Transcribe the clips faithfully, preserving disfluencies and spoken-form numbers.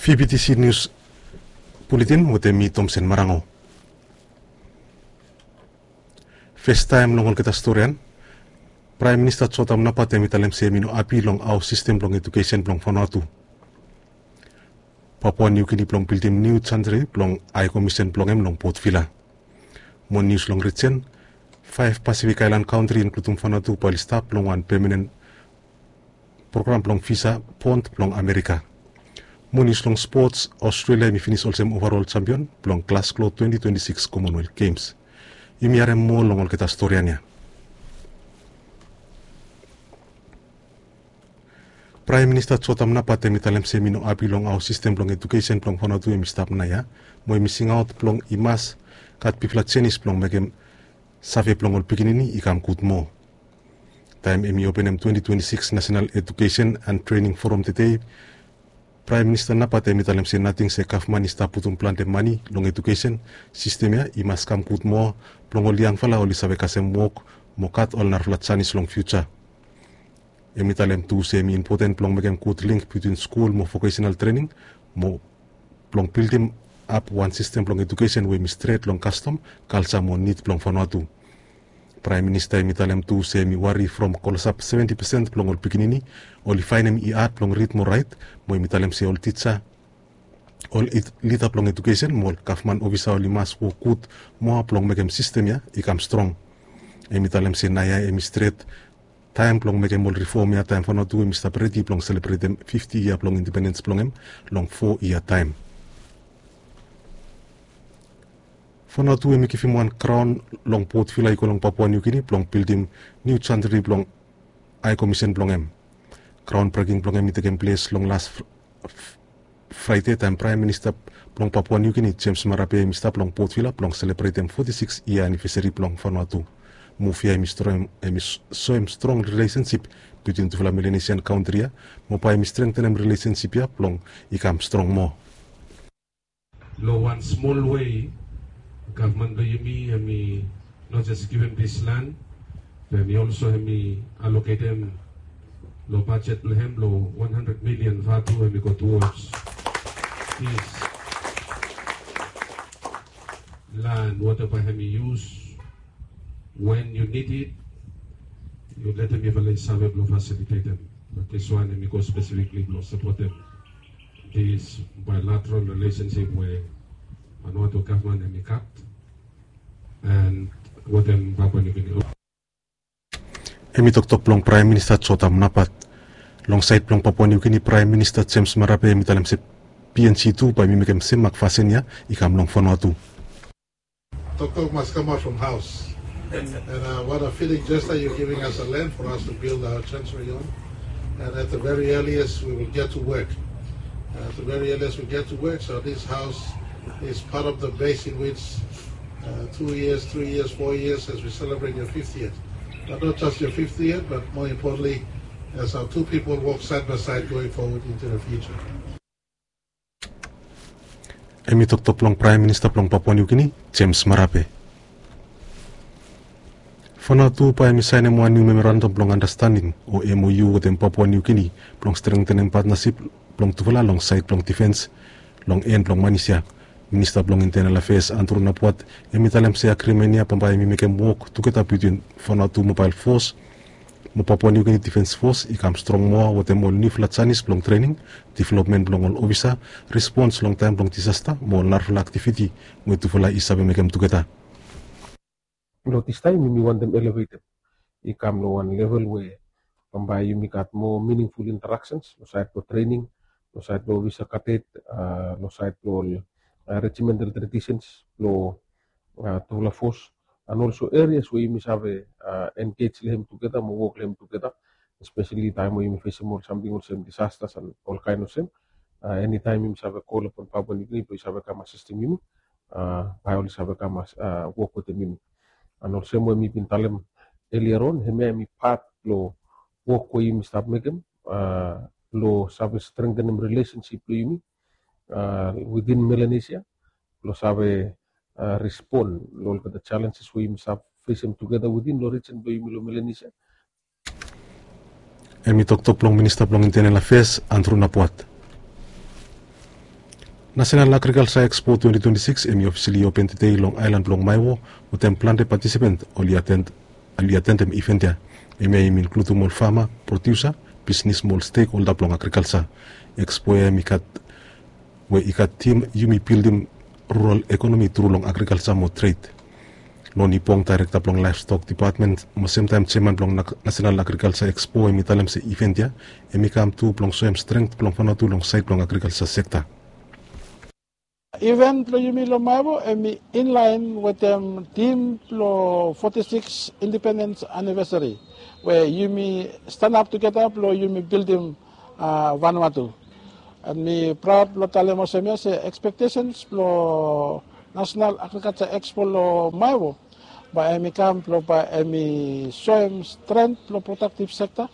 Fibitisi nius buletin wetem mi Tomsen Marango. Festaem long olgeta storian, Praem Minista Jotam Napat hem i talem se hem i no hapi long hao sistem blong ejukesen blong Vanuatu. Papua Niu Gini blong bildim niu jantri blong Hae Komisen blong hem long Port Vila. Mo nius long rijen, faef Pasifik aelan kantri inkludum Vanuatu bae oli stap long wan pemanen program blong visa bond blong Amerika. Mo nius long spots, Australia hem i finis olsem ovarol jampion blong Glasgow twenti twenti sikis Commonwealth Games. Yumi harem moa long olgeta storian ya. Praem Minista Jotam Napat hem i talem se hem i no hapi long hao sistem blong ejukesen blong Vanuatu hem i stap naoia, mo hem i singaot blong i mas gat bigfala jenis blong mekem save blong ol pikinini i kam gud moa. Taem hem i openem twenti twenti sikis National Education and Training Forum tede, Praem Minista Napat hem i talem se nating se gavman i stap putum plante mane long ejukesen sistem ya, i mas kam gud moa blong ol yangfala oli save kasem wok mo gat ol narafala janis long fiuja. Hem i talem tu se hem i impoten blong mekem gud link bitwin skul mo vokesenal trening mo blong bildimap wan sistem blong ejukesen we hem i stret long kastom, kalja mo nid blong Vanuatu. Praem Minista hem i talem tu se hem i wari from klosap seventi pesen blong ol pikinini oli faenem i had blong rid mo raet, mo hem i talem se ol tija, ol lida blong ejukesen mo ol gavman ofisa oli mas wok gud moa blong mekem sistem ya i kam strong. Hem i talem se naoia hem i stret taem blong mekem ol rifom ya taem Vanuatu hem i stap redi blong selebretem fifti yia blong independens blong hem long fo yia taem. Vanuatu hem i givim wan graon long Port Vila i go long Papua Niu Gini blong bildim niu jantri blong Hae Komisen blong hem. Graon breking blong hem i tekem ples long las Fraede taem Praem Minista blong Papua Niu Gini Jems Marape hem i stap long Port Vila blong selebretem foti sikis yia anivesari blong Vanuatu. Muv ya hem i soem strong rilesensip bitwin tufala Melanesian kantri ya, mo bae hem i strengtenem rilesensip ya blong i kam strong moa. Long wan smol wei, gavman blong yumi hem i not jes givim dis lan, be hem i olso hem i aloketem long bajet blong hem long wan handred milian vatu hem i go towards dis lan, whatever hem i yus, when you need it, yu letem mifala i save blong fasilitetem. But dis wan hem i go spesifikli blong sapotem dis bilateral relationship we Vanuatu gavman hem i gat and wetem Papua Niu Gini. Hem i toktok blong Praem Minista Jotam Napat. Long saed blong Papua Niu Gini, Praem Minista Jems Marape hem i talem se P N G tu bae hem i mekem sem mak fasin ya i kam long Vanuatu. Toktok mas kamaot from haos. And uh, what a fitting gesture you're giving us a land for us to build our chancery on. And at the very earliest, we will get to work. Uh, at the very earliest, we get to work. So this house is part of the base in which uh, two years, three years, four years as we celebrate your fiftieth. But not just your fiftieth, but more importantly, as our two people walk side by side going forward into the future. Hem i toktok blong Praem Minista blong Papua Niu Gini, Jems Marape. Vanuatu bae hem i saenem wan niu memorandam blong andastanding o M O U wetem Papua Niu Gini blong strengtenem patnasip blong tufala long saed blong difens long en blong manis ya. Minista blong Intenal Afeas Andru Napuat hem i talem se agrimen ya bambae hem i mekem wok tugeta bitwin Vanuatu Mobael Fos mo Papua Niu Gini Difens Fos i kam strong moa wetem ol niufala janis blong trening, developmen blong ol ofisa, respons long taem blong disasta mo ol narafala aktiviti we tufala i save mekem tugeta. Long distaem yumi wantem elevetem i kam long wan level we bambae yumi gat moa miningful interaksens long saed blong trening, long saed blong ofisa kadet, long saed blong ol rejimental tradisens blong tufala fos, and olso erias we yumi save engej long hem tugeta mo wok long hem tugeta, espeseli taem we yumi fesem ol samting olsem disastas and ol kaen olsem. Enitaem yumi save kol apon Papua Niu Gini blong i save kam asistem yumi, bae oli save kam wok wetem yumi. And olsem we mi bin talem elia on, hemia hemi pat blong wok we yumi stap mekem blong save strengtenem rilesensip blong yumi within Melanesia blong save respon long olgeta jalenjes we yumi save fesem tugeta within long rijen blong yumi long Melanesia. Hemi toktok blong Minista blong Intenal Afeas, Andru Napuat. Nasenal Agrikalsa Ekspo twenti twenti sikis hem i ofisali open tede long aelan blong Maewo, wetem plante patisipant oli atendem iven ya. Hemia i inkludum ol fama, prodiusa, bisnis mo ol stekholda blong agrikalsa. Ekspo ya hem i gat we i gat tim yumi bildim rural ekonomi tru long agrikalsa mo tred. Loni Pong, daerekta blong laevstok depatmen mo semtaem jeaman blong Nasenal Agrikalsa Ekspo, hem i talem se iven ya hem i kam tu blong soem strength blong Vanuatu long saed blong agrikalsa sekta. Iven blong yumi long Maewo hem i inlaen wetem tim blong foti sikis indipendens anivesari, we yumi stanap tugeta blong yumi bildim Vanuatu. An mi praod blong talem olsem ya se ekspektesens blong Nasenal Agrikalsa Ekspo long Maewo bae hem i kam blong bae hem i soem strength blong prodaktiv sekta,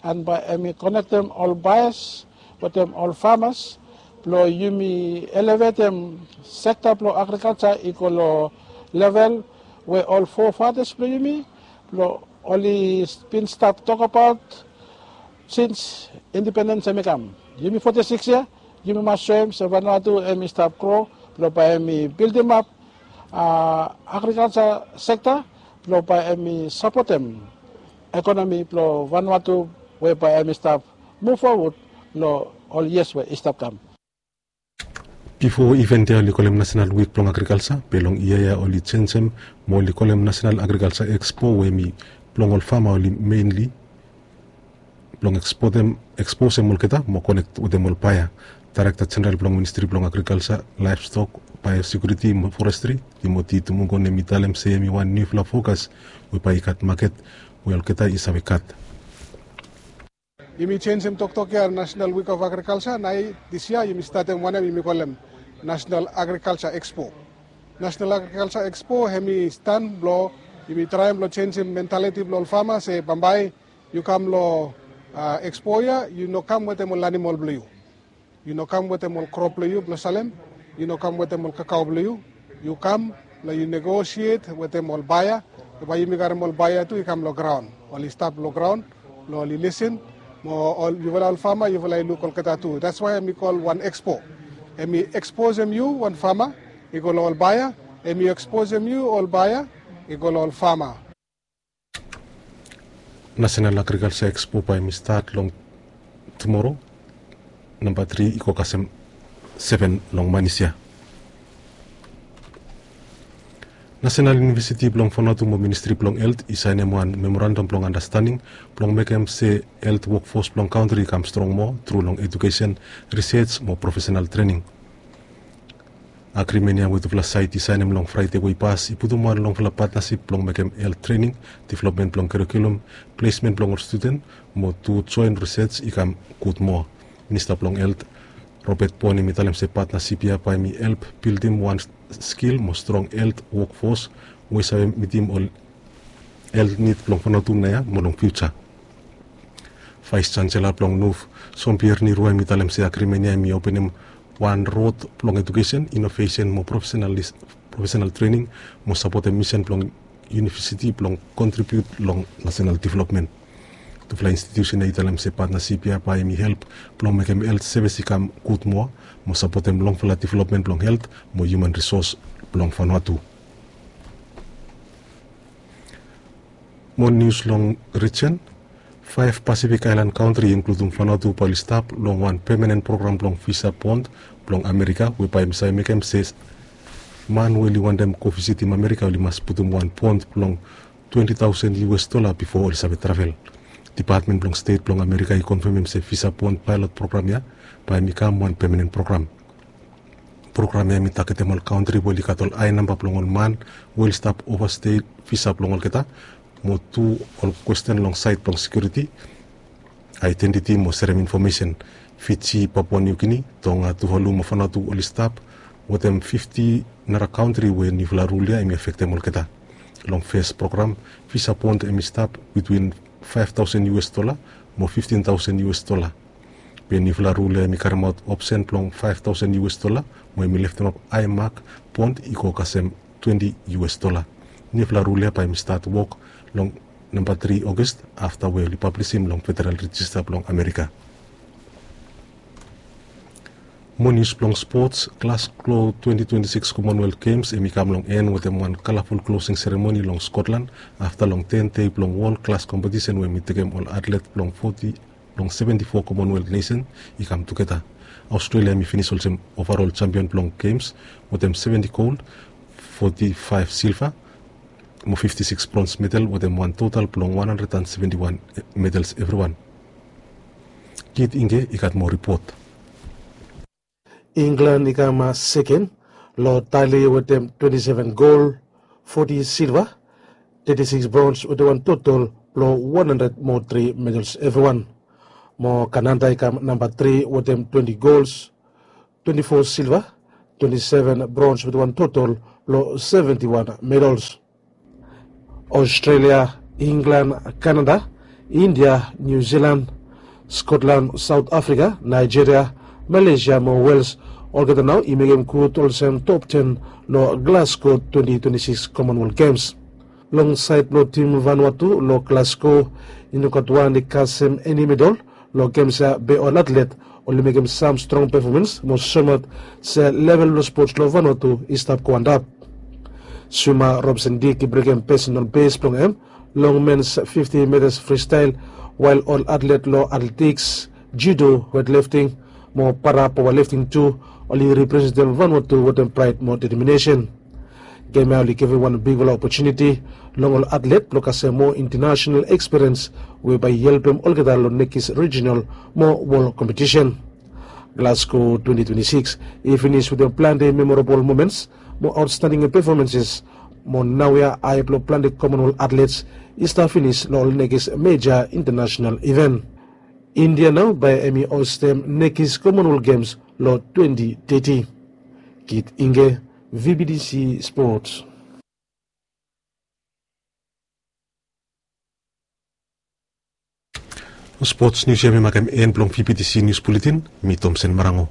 an bae hem i konektem ol baeas wetem ol famas blong yumi elevetem sekta blong agrikalsa i go long level we ol fofatas blong yumi blong oli bin stap tokbaot sins indipendens hem i kam. Yumi foti sikis ya, yumi mas soem se Vanuatu hem i stap gro blong bae hem i bildimap agrikalsa sekta blong bae hem i sapotem ekonomi blong Vanuatu we bae hem i stap muv fowod long ol yias we i stap kam. Bifo iven ya oli kolem Nasenal Wik blong Agrikalsa, be long yia ya oli jenjem mo oli kolem Nasenal Agrikalsa Ekspo we hem i blong ol fama oli menli blong eksposem olgeta mo konek wetem ol baea. Daerekta Jeneral blong Ministri blong Agrikalsa, Laevstok, Baeosekiuriti mo Forestri, Timoti Tumugon, hem i talem se hem i wan niufala fokas we bae i gat maket we olgeta i save gat. Yumi jenjem toktok ya, Nasenal Wik of Agrikalsa, naoia dis yia yumi statem wanem yumi kolem Nasenal Agrikalsa Ekspo. Nasenal Agrikalsa Ekspo hem i stan blong yumi traem blong jenjem mentaliti blong ol fama se bambae yu kam long ekspo ya, yu no kam wetem ol animol blong yu. Yu no kam wetem ol krop blong yu blong salem. Yu no kam wetem ol kakao blong yu. Yu kam blong yu negosiet wetem ol baea. Bae yumi karem ol baea tu i kam long graon, oli stap long graon blong oli lisin. Mo yufala ol fama yufala i luk olgeta tu. That's why hem i kol wan ekspo. Hem i eksposem yu wan fama i go long ol baea. Hem i eksposem yu ol baea i go long ol fama. Nasenal Agrikalsa Ekspo bae hem i stat long tumoro, namba tri i go kasem seven long manis ya. Nasenal Yunivesiti blong Vanuatu mo Ministri blong Helt i saenem wan memorandam blong andastanding blong mekem se helt wokfos blong kantri i kam strong moa tru long ejukesen, risej mo profesenal trening. Agrimen ya we tufala saed i saenem long Fraede we i pas i putum wan longfala patnasip blong mekem helt trening, developmen blong kurikulum, plesmen blong ol studen, mo tu joen risej i kam gud moa. Minista blong Helt, Robert Pon, hem i talem se patnasip ya bae hem i help bildim wan skil mo strong helt wokfos we i save mitim ol helt nid blong Vanuatu naoia mo long fiuja. Vaes Jansela blong NUF, Jean-Pierre Nirua, hem i talem se agrimen ya hem i openem wan rod blong ejukesen, inovesen mo profesenal trening mo sapotem misen blong yunivesiti blong kontribiut long nasenal developmen. Tufala institiusen ya i talem se patnasip ya bae hem i help blong mekem helt sevis i kam gud moa mo sapotem longfala developmen blong helt mo hiuman risos blong Vanuatu. Mo nius long rijen, faef Pasifik aelan kantri, inkludum Vanuatu, bae oli stap long wan pemanen program blong visa bond blong Amerika, we bae hem i save mekem se man we oli wantem go visitim Amerika oli mas putum wan bond blong twenti taosen U S dola bifo oli save travel. Depatmen blong Stet blong Amerika i konfemem se visa bond paelot program ya bae hem i kam wan pemanen program. Program ya hem i tagetem ol kantri we oli gat ol ae namba blong ol man we oli stap ovastei visa blong olgeta, mo tu ol kwesten long saed blong sekiuriti, aedentiti mo serem infomesen. Fiji, Papua New Guinea, Tonga, Tuvalu mo Vanuatu oli stap wetem fifti nara kantri we niufala rul ya hem i afektem olgeta. Long fes program, visa bond hem i stap bitwin faef taosen U S dola mo fiftin taosen U S dola. Be niufala rul ya hem i karemaot opsen blong faef taosen U S dola, mo hem i leftemap ae mak bond i go kasem twenti U S dola. Niufala rul ya bae hem i stat wok long namba tri August, afta we oli pablisim long Federal Rejista blong Amerika. Mo nius blong spots, Glasgow twenty twenty-six Commonwealth Games hemi kam long en wetem wan kalaful klosing seremoni long Scotland afta long ten dei blong wol klas kompetisen we hemi tekem ol atlet blong foti blong seventy-four Commonwealth nesen i kam tugeta. Australia hemi finis olsem ovarol jampion blong Games wetem seventy gold, forty-five silver, mo fifty-six bronze medal wetem wan total blong one hundred and seventy-one medals evriwan. Kit Inge i gat mo ripot. England i kam seken long tali wetem twenty-seven gold, forty silver, thirty-six bronze wetem wan total blong one hundred mo tri medals evriwan. Mo Canada i kam namba tri wetem twenty golds, twenty-four silver, twenty-seven bronze wetem wan total blong seventy-one medals. Australia, England, Canada, India, New Zealand, Scotland, South Africa, Nigeria, Malaysia mo Wales olgeta nao i mekem gud olsem top ten long Glasgow twenty twenty-six Commonwealth Games. Long saed blong tim Vanuatu long Glasgow i no gat wan i kasem eni medal long Games ya be ol atlet oli mekem sam strong pefomans mo soemaot se level blong spots long Vanuatu i stap go antap. Swima Robson Dick i brekem pesenal bes blong hem long mens fifti metas fristael, wael ol atlet long atletiks, judo, wetlefting mo para paoalefting tu oli representem Vanuatu wetem praed mo deteminesen. Gem ya oli givim wan bigfala opotuniti long ol atlet blong kasem moa intanasenal ekspiriens we bae i helpem olgeta long nekis rijinal mo wol kompetisen. Glasgow twenty twenty-six i finis wetem plante memorabol moments mo aotstanding pefomanses mo naoia ae blong plante Commonwealth atlets i stap finis long ol nekis meja intanasenal iven. India nao bae hem i ostem nekis Commonwealth Games long twenty thirty. Kit Inge, V B T C Sports. Spots nius ya mi makem en blong V B T C Nius Buletin. Mi Tomsen Marango.